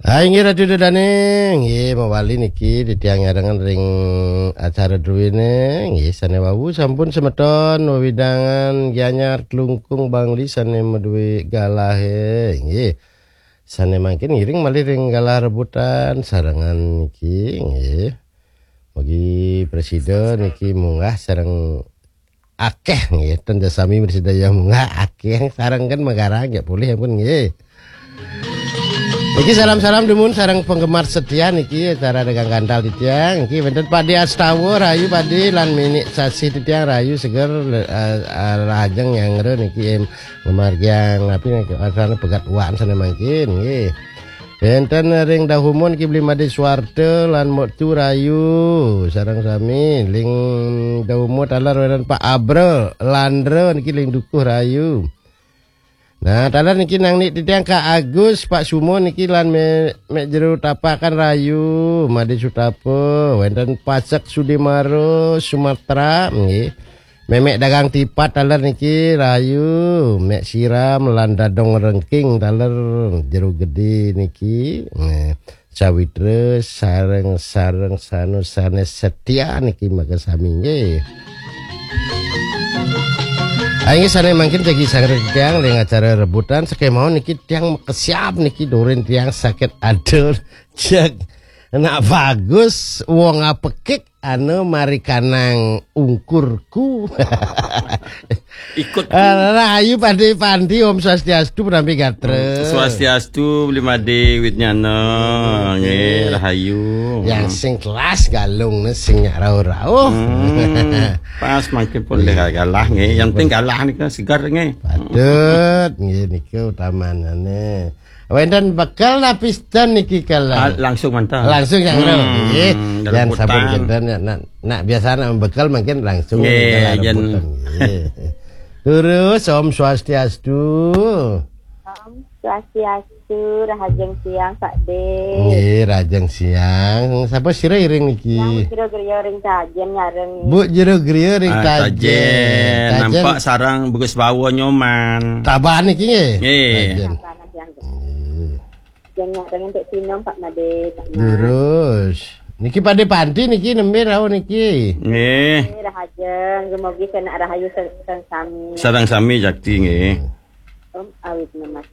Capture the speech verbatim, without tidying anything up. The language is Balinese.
Hai, inggih Ratu Dodane, inggih mawali niki titiang nyarengan ring acara druene, inggih sane wau sampun semeton wewidangan Gianyar, Klungkung, Bangli sane madue galahe, inggih. Sane mangkin ngiring malih ring galah rebutan sarengan niki, inggih. Mugi presida niki munggah sareng akeh nggih, ten sami mrsidaya munggah akeh sareng kan magarang ya polih ampun nggih. Niki salam-salam dumun sareng penggemar setia niki acara Dagang Gantal titiang. Niki wenten Padi Astawa rahayu Padi lan Minik Sasih titiang rahayu seger, eh, eh, rahajeng nyanggra niki, em, ngamargiang api niki asane pegat wan sane mangkin nggih. Wenten ring Dahumun niki Bli Made Suwarta lan Moktu rahayu sareng sami ring Dahumun taler wenten Pak Abra Landra niki ring Dukuh rahayu. Nah, taler niki nang nik titiang Kak Agus, Pak Sumo niki lan me, mek jero tapakan rahayu, Made Sutapa, wenten Pasek Sudimara, Sumatera nggih. Memek dagang tipat taler niki rahayu, mek siram lan dadong rengking taler jero gede niki. Nggih. Sawitra sareng-sareng sanusane setia niki maka sami nggih. Inggih sane mangkin jagi sangreng tiang ring acara rebutan sakemawon niki tiang makesiab niki durin tiang sakit adul. Jeg nak bagus wong apekik anu marikanang ungkurku. Ikut. Ah, rahayu Padi Pandi, Om Swastiastu, Prampi Gatra. Swastiastu, Bli Made Widnyana. Nggih, rahayu. Yang sing kelas galung ne sing nyak rauh-rauh. Hmm, pas mangkin pun le galah nggih. Yang penting galah nika segar nggih. Patut nggih nika utamanane. Wenten bekel napi sten niki kala? Ah, langsung mantap. Langsung yang Hmm, nggih. Dalam Yang sabun putang. Kenten ya, nak, nak biasa nak bekel mungkin langsung Nggih, dalam yen. Putang, nggih. Terus Om Swastiastu. Om Swastiastu, rahajeng siang Pak De. Nggih, rahajeng siang. Sapa sira iring niki? Yang kira-kira ring Tajen nyareng. Bu Jero Griya ring Ah, Tajen. Tajen. Tajen. Nampak sarang bagus bawa nyoman. Taban niki nggih? Nggih. Tajen. Taban yang Nggih. Yang nyareng untuk sinom Pak Made, Pak Mas. Terus. Niki Padi Pandi niki nembe rauh niki. Nggih. Nggih, rahajeng, dumugi senak rahayu sen- sen sami. Sareng sami jakti nggih. Om awit nemas